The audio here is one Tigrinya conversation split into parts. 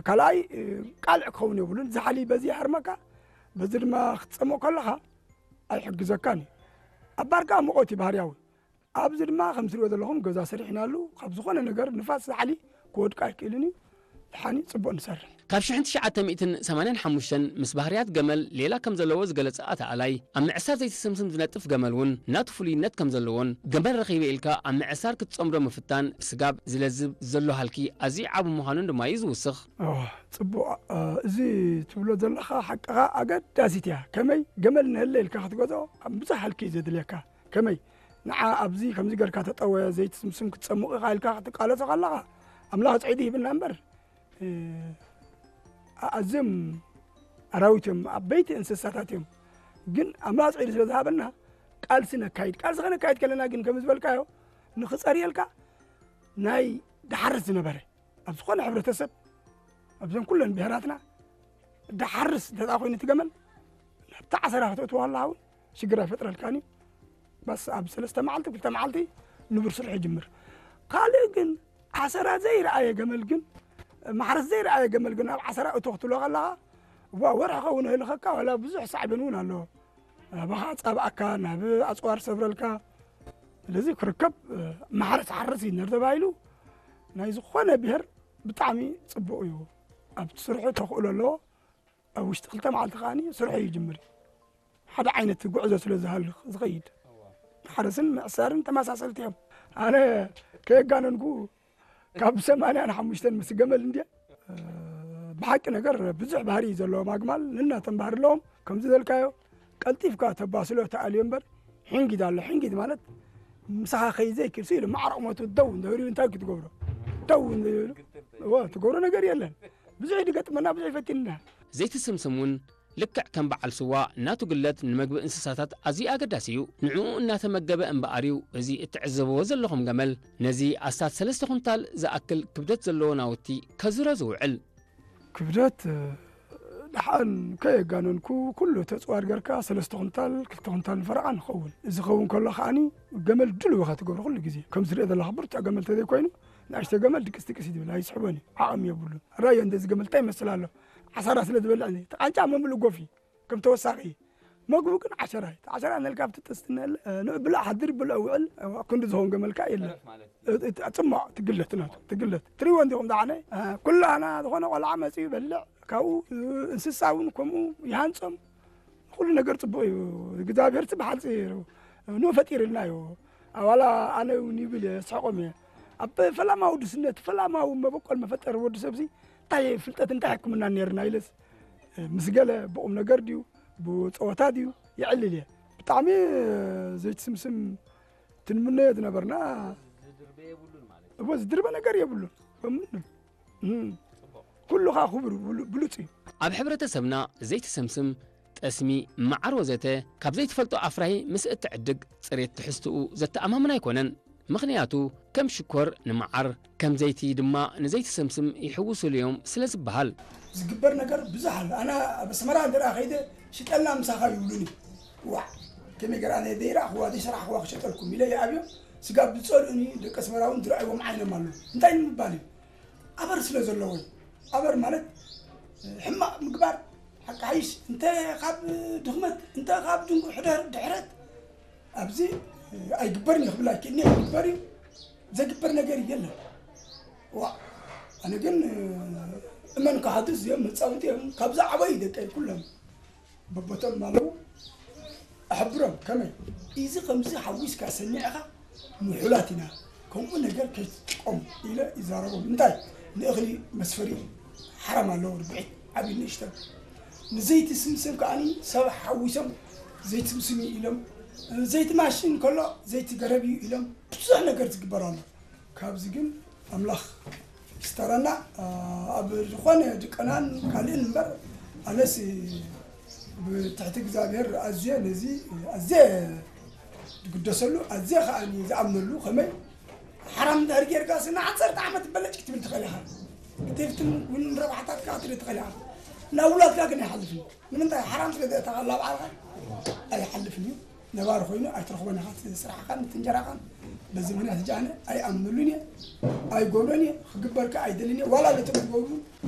ካልኣይ ቃልዕ ክኸውን የብሉን። ዛሕሊ በዚ ይሃርመካ፣ በዚ ድማ ክትጸምቕ ከለኻ ኣይሕግዘካን እዩ። ኣብ ባር ከኣ ሙቐት እዩ ባህርያዊ። ኣብዚ ድማ ከም ትሪኦ ዘለኹም ገዛ ሰሪሕናሉ፣ ካብ ዝኾነ ነገር ንፋስ ዛሕሊ ክወድቅ ኣይክእልን እዩ። ደሓን እዩ፣ ጽቡቕ ንሰርሕ። ካብ ሽሕን ትሽዓተ ሚእትን ሰማንያን ሓሙሽተን ምስ ባህርያት ገመል ሌላ ከም ዘለዎ ዝገለጸ ኣተኣላይ፣ ኣብ ምዕሳር ዘይትስምስም ዝነጥፍ ገመል እውን ናቱ ፍሉይነት ከም ዘለዎን፣ ገመል ረኺበ ኢልካ ኣብ ምዕሳር ክትጸምዶ ምፍታን ስጋብ ዝለዝብ ዘሎ ሃልኪ ኣዝዩ ዓቢ ምዃኑን ድማ እዩ ዝውስኽ። እዋ፣ ጽቡቕ። እ፣ እዚ ትብሎ ዘለኻ ሓቅኻ ኣገዳሲት እያ። ከመይ ገመል ንህለ ኢልካ ክትገዝኦ ኣብ ብዙሕ ሃልኪ እዩ ዘድልየካ። ከመይ ንዓ ኣብዚ ከምዚ ጌርካ ተጠወየ ዘይትስምስም ክትጸምቕ ኢኻ ኢልካ ክትቃለሶ ከለኻ ኣምላኽ ጽዒዱ ሂብና እምበር፣ እ፣ ኣዝዮም ኣራዊት እዮም፣ ዓበይቲ እንስሳታት እዮም። ግን ኣምላኽ ጽዒዱ ስለ ዝሃበና ቃልሲ ነካይድ። ቃልሲ ከነካይድ ከለና ግን ከም ዝበልካዮ ንኽጸርየልካ ናይ ድሓርስ ዝነበረ ኣብ ዝኾነ ሕብረተሰብ ኣብዘን ኩለን ብሄራትና ድሓርስ እንተ ደኣ ኮይኑ እቲ ገመል ናብቲ ዓሰራ ከተእትዎ ከለኻ እውን ሽግር ኣይፈጥረልካን እዩ። በስ ኣብ ሰለስተ መዓልቲ ክልተ መዓልቲ ንቡር ስርሑ ይጅምር። ካልእ ግን ዓሰራ ዘይረኣየ ገመል ግን ማሕረስ ዘይረኣየ ገመል ግን ኣብ ዓሰራ እቶ ክትብሎ ከለኻ ዋ ወርሒ ኸውን ይህልኸካ ዋላ ብዙሕ ሳዕቤን እውን ኣለዎ። ኣባኻ ጻብኣካ ናብ ኣጽዋር ሰብረልካ። ስለዚ ክርከብ ማሕረስ ሓርስ እዩ ነር ተባሂሉ ናይ ዝኾነ ብሄር ብጣዕሚ ጽቡቕ እዩ። ኣብ ስርሑ ተኽእሎ ኣለዎ። ኣብ ውሽጢ ክልተ መዓልቲ ከኣ ስርሑ ይጅምር። ሓደ ዓይነት ጉዕዞ ስለ ዝሃልኽ ዝኸይድ ማሕረስን ምዕሳርን ተመሳሰልቲ እዮም። ኣነ ከየጋነንኩ ካብ ሰማንያን ሓሙሽተን ምስ ገመል እንድየ። እ፣ ብሓቂ ነገር ብዙሕ ባህሪ እዩ ዘለዎም ኣግማል፣ ነናቶም ባህሪ ኣለዎም። ከምዚ ዘልካዮ ቀልጢፍካ ተባስሎ ተኣልዮ እምበር፣ ሕንጊድ ኣሎ። ሕንጊድ ማለት ምሳኻ ከይዘይክል ስኢሉ ማዕረ ቁመቱ ደው እንተበሉ እንታይ ክትገብሮ? ደው እንተበሉ፣ እዎ፣ ትገብሮ ነገር የለን። ብዙሕ ድገጥመና፣ ብዙሕ ይፈትንና። ዘይትስምስም እውን ልክዕ ከም በዓል ስዋ ናቱ ግለት ንምግቢ እንስሳታት ኣዝዩ ኣገዳሲ እዩ። ንዕኡ እናተመገበ እምበኣር እዩ እዚ እትዕዘብዎ ዘለኹም ገመል ነዚ ኣስታት ሰለስተ ኩንታል ዝኣክል ክብደት ዘለዎ ናውቲ ከዝሮ ዝውዕል። ክብደት፣ እ፣ ደሓን ከየጋነንኩ ኩሉ ተጽዋር ጌርካ ሰለስተ ኩንታል፣ ክልተ ኩንታል ንፈረቓ ንኸውን። እዚ ኸውን ከሎ ከኣኒ ገመል ድሉው ኢኻ ትገብሮ ኩሉ ግዜ። ከም ዝሪኦ ዘለኻ ብርቱዕ ገመል ተዘይኮይኑ ንኣሽተ ገመል ድቅስ ድቅስ እዩ ዝብል፣ ኣይስሕቦን እዩ፣ ዓቕሚ የብሉን። ራዮ እንደዚ ገመል እንታይ ይመስል ኣሎ? ዓሳራ ስለ ዝበልዕ፣ እቲ ቃንጫ መምልእ ጎፍ እዩ። ከም ተወሳኺ መግቡ ግን ዓሸራ እዩ። እቲ ዓሸራ ነልካ ኣብቲ ጥስቲ ነል-፣ እ፣ ንብልዕ ሓድር ብልዕ ውዕል፣ እ፣ ክንዲ ዝኸውን ገመልካ የለን። ተረፍ ማለት እዩ። እ፣ እ፣ ጽማቕ ትግለት ናቱ፣ ትግለት። ትሪእዎ እንዲኹም ደሓነ፣ እ፣ ኩላና ዝኾነ ቆልዓ መጺኡ ይበልዕ፣ ካብኡ፣ እ፣ እንስሳ እውን ከምኡ ይሃንጾም። ኩሉ ነገር ጽቡቕ እዩ። እግዚኣብሔር ጽ ብሓልጺ ንኡ ፈጢርልና እዩ። ኣዋላ ኣነ እውን ይብል እየ፣ ስሕቆም እየ። ኣብ ፈላማዊ ድስነት፣ ፈላማዊ መበቆል መፈጠሪ ወዲ ሰብዚ እንታይ ፍልጠት፣ እንታይ ሕክምና ነይርና ኢለስ፣ ምስ ገለ ብቁም ነገር ድዩ፣ ብጸወታ ድዩ ይዕልል እየ። ብጣዕሚ ዘይትስምስም ትንምነዮ ዝነበርና። ዝድርበ የብሉን ማለት እዩ። እወ፣ ዝድርበ ነገር የብሉን። በምንም። እም። ጽቡቕ። ኩሉ ኸኣ ክቡር ብሉ-፣ ብሉጽ እዩ። ኣብ ሕብረተሰብና ዘይትስምስም፣ ጠስሚ፣ መዓር ወዘተ ካብ ዘይትፈልጦ ኣፍራዪ ምስ እትዕድግ ጽሬት ትሕዝትኡ ዘተኣማምን ኣይኮነን። ምኽንያቱ ከም ሽኮር ንመዓር፣ ከም ዘይቲ ድማ ንዘይትስምስም ይሕውሱሉ እዮም ስለ ዝበሃል። ዝግበር ነገር ብዙሕ ኣሎ። ኣነ ኣብ ኣስመራ እንተ ደኣ ከይደ ሽጠልና ምሳኻ ይብሉኒ። ዋዕ፣ ከመይ ገይረ ኣነ ዘይረኣኽዋ ዘይሰራሕኽዋ ክሸጠልኩም ኢለ ይኣብዮም። ስጋብ ዝጸልኡኒ ደቂ ኣስመራ እውን ዝረኣይዎም ዓይኖም ኣሎ። እንታይ ንምባል እዩ? ኣበር ስለ ዘለዎ እዩ። ኣበር ማለት ሕማቕ ምግባር፣ ሓቂ ሓይሽ፣ እንተ ካብ ድኽመት፣ እንተ ካብ ድንጉ-፣ ሕደር-፣ ድሕረት፣ ኣብዚ ኣይግበርን እዩ ክብል ኣይክእልን እየ። ይግበር እዩ። ዘግበር ነገር የለን። ዋ፣ ኣነ ግን እመን ክሓቱ እዚኦም መጻወቲ እዮም። ካብዚ ዓበዩ ደቀይ ኩሎም በቦቶም ኣለዉ። ኣሕብሮም ከመይ? እዚ ከምዚ ሓዊስካ ሰሚዕኻ ምሑላት ኢና፣ ከምኡ ነገር ከይትጥቀሙ ኢለ ይዛረቦም። እንታይ? ንእኽሊ መስፈሪ ሓራም ኣለዎ፣ ርብዒት ዓብዪ ንእሽተን። ንዘይቲ ስምስም ከኣኒ ሰብ ሓዊሶም ዘይቲ ስምስም እዩ ኢሎም፣ ዘይቲ ማሽን ከሎ ዘይቲ ገረብ እዩ ኢሎም፣ ብዙሕ ነገር ዝግበር ኣሎ። ካብዚ ግን ኣምላኽ ይስተረና። ኣብ ዝኾነ ድቀናን ካልእን እምበር፣ ኣነስ ብትሕቲ እግዚኣብሔር ኣዝየ ነዚ ኣዝየ ዝግደሰሉ፣ ኣዝየ ከኣ ዝኣምነሉ። ከመይ ሓራም እንድሕር ጌርካ ስና ዓሰርተ ዓመት በለጭ ክትብል ትኽእል ኢኻ። ክትፍትን እውን ረብሓታትካ ክትርኢ ትኽእል ኢኻ። ናብ ውላድካ ግን ኣይሓልፍን። ንምንታይ? ሓራም ስለ ዘእተኻ ላብ ዓርኻ ኣይሓልፍን እዩ። ነባሪ ኮይኑ ኣይትረኽቦን ኢኻ እቲ ስራሕኻን እቲ እንጀራኻን። በዚ ምኽንያት ሕጂ ኣነ ኣይኣምነሉን እየ፣ ኣይገብሮን እየ፣ ክግበርካ ኣይደልን እየ። ዋላ ነቶም ዝገብሩ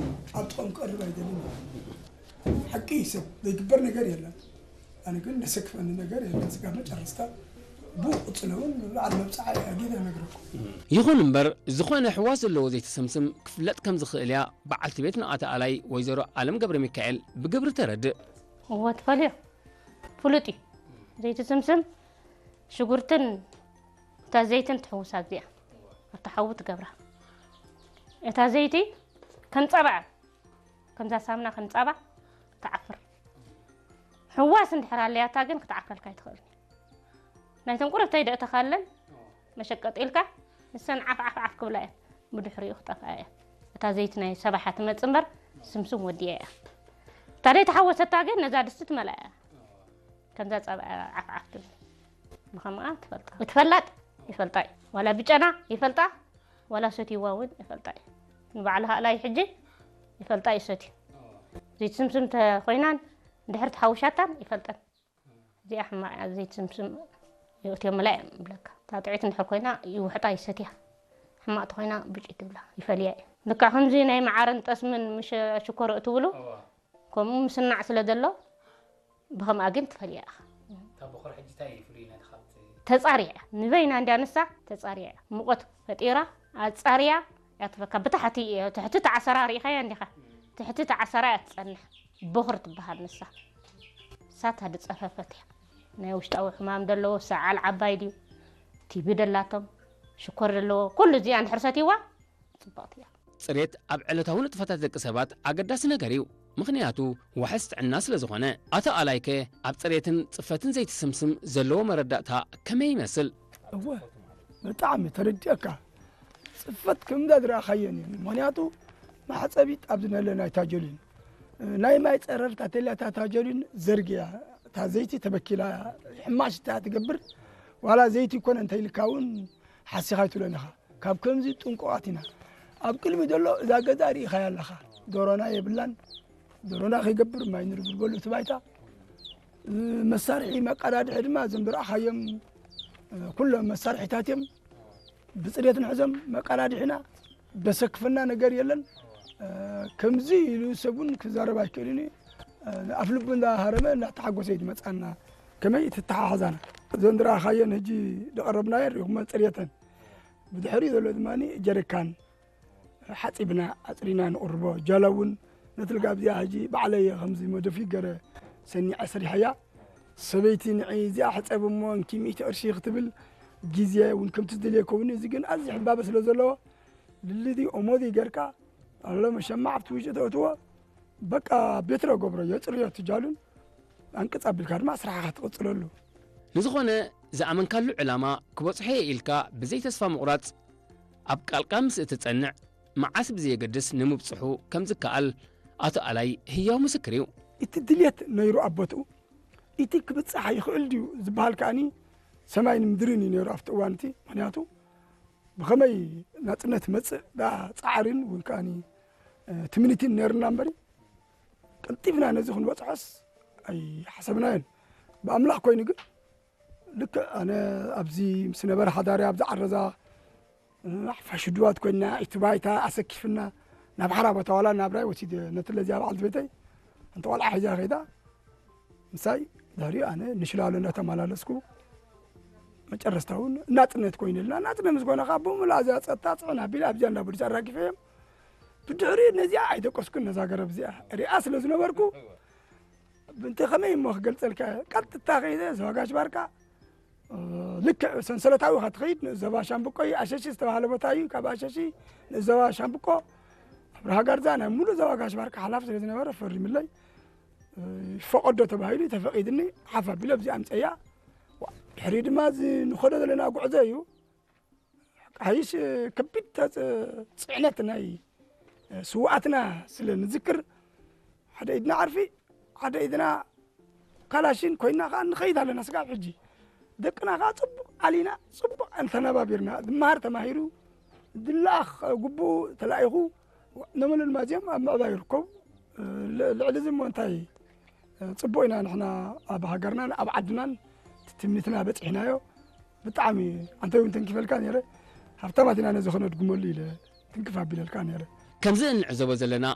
ኣብ ክቐርብ ኣይደልን። ሓቂ እዩ ሰብ ዘይግበር ነገር የለን። ኣነ ግን ዘሰክፈኒ ነገር የለን። ስጋብ መጨረስታ ብኡ ክቕፅል እውን ንበዓል መብፅዓ እየ ኣጊደ ነግረኩም። ይኹን እምበር፣ ዝኾነ ሕዋስ ዘለዎ ዘይትስምስም ክፍለጥ ከም ዝኽእል እያ በዓልቲ ቤት ንኣተኣላይ ወይዘሮ ኣለም ገብረ ሚካኤል ብግብሪ ተረድእ። እወ ትፈልዮ ፍሉጥ እዩ። ዘይትስምስም ሽጉርትን እታ ዘይትን ትሕውሳ እዚኣ ኣብታ ሓዊ ትገብራ። እታ ዘይቲ ከም ጸባ እያ። ከምዛ ሳምና ከም ጸባ ትዓፍር። ሕዋስ እንድሕር ኣለያታ ግን ክትዓፍረልካ ኣይትኽእልን። ናይተን ቁሩብ ተይደእተኻለን መሸቀጥ ኢልካ ንሰን ዓፍ ዓፍ ዓፍ ክብላ እየን። ብድሕሪኡ ክጠፍኣ እያ። እታ ዘይቲ ናይ ሰባሓ ትመጽእ እምበር ስምስም ወዲያ እያ። እታ ዘይተሓወሰታ ግን ነዛ ድስቲ ትመልኣ እያ። ከምዛ ጸብኣ ዓፍ ዓፍ ትብል። ብኸምኣ ትፈልጣ። እቲ ፈላጥ ይፈልጣ እዩ። ዋላ ብጨና ይፈልጣ፣ ዋላ ሰትይዋ እውን ይፈልጣ እዩ። ንባዕሉ ሃላይ ሕጂ ይፈልጣ እዩ ሰትዩ። ዘይትስምስም ተኾይናን እንድሕር ተሓውሻታን ይፈልጠን። እዚኣ ሕማቕ እያ፣ ዘይትስምስም የእትዮምላ እዮም ይብለካ። እታ ጥዑይት እንድሕር ኮይና ይውሕጣ ይሰትያ። ሕማቕ ተኾይና ብጭ ትብላ ይፈልያ እዩ። ልክዕ ከምዚ ናይ መዓርን ጠስምን ምሽ ሽኮር እትብሉ ከምኡ ምስናዕ ስለ ዘሎ ብኸምኣ ግን ትፈልያ ኢኻ። እታ ቦኽሪ ሕጂ እንታይ እዩ ፍሉይነታ ካብቲ ተጻሪያ ንበይና እንድያ ንሳ ተጻሪያ ሙቐት ፈጢራ ኣጻርያ ያትበካ ብታሕቲ ትሕቲ ተዓሰራ ርኢኻያ እንዲኻ ትሕቲ ተዓሰራ እያ ትጸንሕ ቦኽሪ ትበሃል ንሳ እሳት ድጸፈፈት እያ ናይ ውሽጣዊ ሕማም ደለዎ ሰዓል ዓባይ ድዩ ቲቢ ደላቶም ሽኮር ደለዎ ኩሉ እዚኣ እንድሕር ሰትይዋ ጽብቕቲ እያ ጽሬት ኣብ ዕለታዊ ንጥፈታት ደቂ ሰባት ኣገዳሲ ነገር እዩ። ምኽንያቱ ዋሕስ ጥዕና ስለ ዝኾነ። ኣቶ ኣላይከ ኣብ ጽሬትን ጽፈትን ዘይትስምስም ዘለዎ መረዳእታ ከመይ ይመስል? እወ ብጣዕሚ ተረዲአካ ጽፈት ከምዛ ዝረኣኻየን እዩ። ምኽንያቱ መሕጸቢት ኣብዚ ነለ ናይ ታጀሊን ናይ ማይ ጸረርታ ተልያ እታ ታጀሊን ዘርግያ እታ ዘይቲ ተበኪላ ሕማሽታ ትገብር ዋላ ዘይቲ ይኮነ እንተይልካ እውን ሓሲኻ ኣይትብለን ኢኻ። ካብ ከምዚ ጥንቁቓት ኢና። ኣብ ቅድሚ ዘሎ እዛ ገዛ ርኢኻያ ኣለኻ። ዶሮና የብላን። ዶሮና ከይገብር ማይ ንርብርበሉ እቲ ባይታ። መሳርሒ መቀዳድሒ ድማ እዞም ዝረኣኻዮም ኩሎም መሳርሒታት እዮም። ብፅሬት ንሕዞም መቀዳድሒና ደሰክፈና ነገር የለን። ከምዚ ኢሉ ሰብ እውን ክዛረብ ኣይክእልን እዩ። ኣፍልቡ እንዳሃረመ እንዳተሓጎሰ እዩ ዝመፃና። ከመይ ትተሓሓዛና እዘን ዝረኣኻየን ሕጂ ዝቐረብናየን ሪኹመን ፅሬተን ብድሕሪኡ ዘሎ ድማ ጀሪካን ሓፂብና ኣፅሪና ንቕርቦ ጃላ እውን ነቲ ልጋብ እዚኣ ሕጂ ባዕለየ ከምዚ መደፊ ገረ ሰኒዐ ሰሪሐያ ሰበይቲ ንዒ እዚኣ ሕፀብ እሞ እንኪ ሚእቲ ቅርሺ ክትብል ግዜ እውን ከምቲ ዝደልየ ከውን እዚ ግን ኣዝዩ ሕባበ ስለ ዘለዎ ልልዚ ኦሞዚ ገርካ ኣሎ መሸማዕ ኣብቲ ውሽጢ ተእትዎ በቃ ቤትሮ ገብሮ የፅርዮ ትጃሉን ኣንቅፅ ኣቢልካ ድማ ስራሕኻ ትቕፅለሉ ንዝኾነ ዝኣመንካሉ ዕላማ ክበፅሖ እየ ኢልካ ብዘይ ተስፋ ምቑራፅ ኣብ ቃልካ ምስ እትፀንዕ መዓስ ብዘየገድስ ንምብፅሑ ከም ዝከኣል ኣቶ ኣላይ ህያው ምስክር እዩ። እቲ ድልየት ነይሩ ኣብ ቦትኡ እቲ ክብፅሕ ይኽእል ድዩ ዝበሃል ከኣኒ ሰማይን ምድርን እዩ ነይሩ ኣብቲ እዋን እቲ ምክንያቱ ብኸመይ ናፅነት መፅእ ዳ ፃዕርን እውን ከኣኒ ትምኒትን ነይርና እምበሪ ቀልጢፍና ነዚ ክንበፅሖስ ኣይሓሰብናዮን ብኣምላኽ ኮይኑ ግን ልክዕ ኣነ ኣብዚ ምስ ነበረ ሓዳሪ ኣብዚ ዓረዛ ሓፋሽ ድዋት ኮይና እቲ ባይታ ኣሰኪፍና ናብ ሓራ ቦታ ዋላ ናብራይ ወሲደ ነቲ ለዚያ በዓልቲ ቤተይ ሓንቲ ቆልዓ ሒዛ ከይዳ ምሳይ ድሕሪኡ ኣነ ንሽላሎ እንዳተመላለስኩ መጨረስታ እውን ናፅነት ኮይኑልና ናፅነት ምስ ኮነ ከዓ ብሙሉ ኣብዚኣ ፀጥታ ፅዕን ኣቢለ ኣብዚኣ እንዳቦሊስ ኣራጊፈ እዮም ብድሕሪኡ ነዚኣ ኣይደቀስኩን ነዛ ገረብ እዚኣ ሪኣ ስለ ዝነበርኩ ብእንተ ከመይ እሞ ክገልፀልካ ቀጥታ ከይደ ዘዋጋሽ ባርካ ልክዕ ሰንሰለታዊ ካ ትኸይድ ንእስ ዘባ ሻምብቆ እዩ ኣሸሺ ዝተባሃለ ቦታ እዩ ካብ ኣሸሺ ንእስ ዘባ ሻምብቆ ኣብርሃ ጋርዛ ናይ ሙሉእ ዘባ ጋሽ ባርካ ሓላፍ ስለ ዝነበረ ፈሪምለይ ይፈቀዶ ተባሂሉ ተፈቂድኒ ሓፍ ኣቢለ ኣብዚ ኣምፀያ ድሕሪ ድማ እዚ ንኸዶ ዘለና ጉዕዞ እዩ ሓይሽ ከቢድ ፅዕነት ናይ ስውኣትና ስለ ንዝክር ሓደ ኢድና ዓርፊ ሓደ ኢድና ካላሽን ኮይና ከዓ ንኸይድ ኣለና ስጋብ ሕጂ ደቅና ከዓ ፅቡቅ ዓሊና ፅቡቅ እንተነባቢርና ዝመሃር ተማሂሩ ዝለኣኽ ግቡኡ ተላኢኹ ነመሉ ድማ እዚኦም ኣብ ምዕባይ ይርከቡ ልዕሊ እዚ እሞ እንታይ ፅቡቅ ኢና ንሕና ኣብ ሃገርናን ኣብ ዓድናን ትምኒትና በፂሕናዮ ብጣዕሚ ኣንተ እውን ተንኪፈልካ ነረ ሃብታማት ኢና ነዚ ከነድግመሉ ኢለ ትንክፍ ኣቢለልካ ነረ ከምዚ እንዕዘቦ ዘለና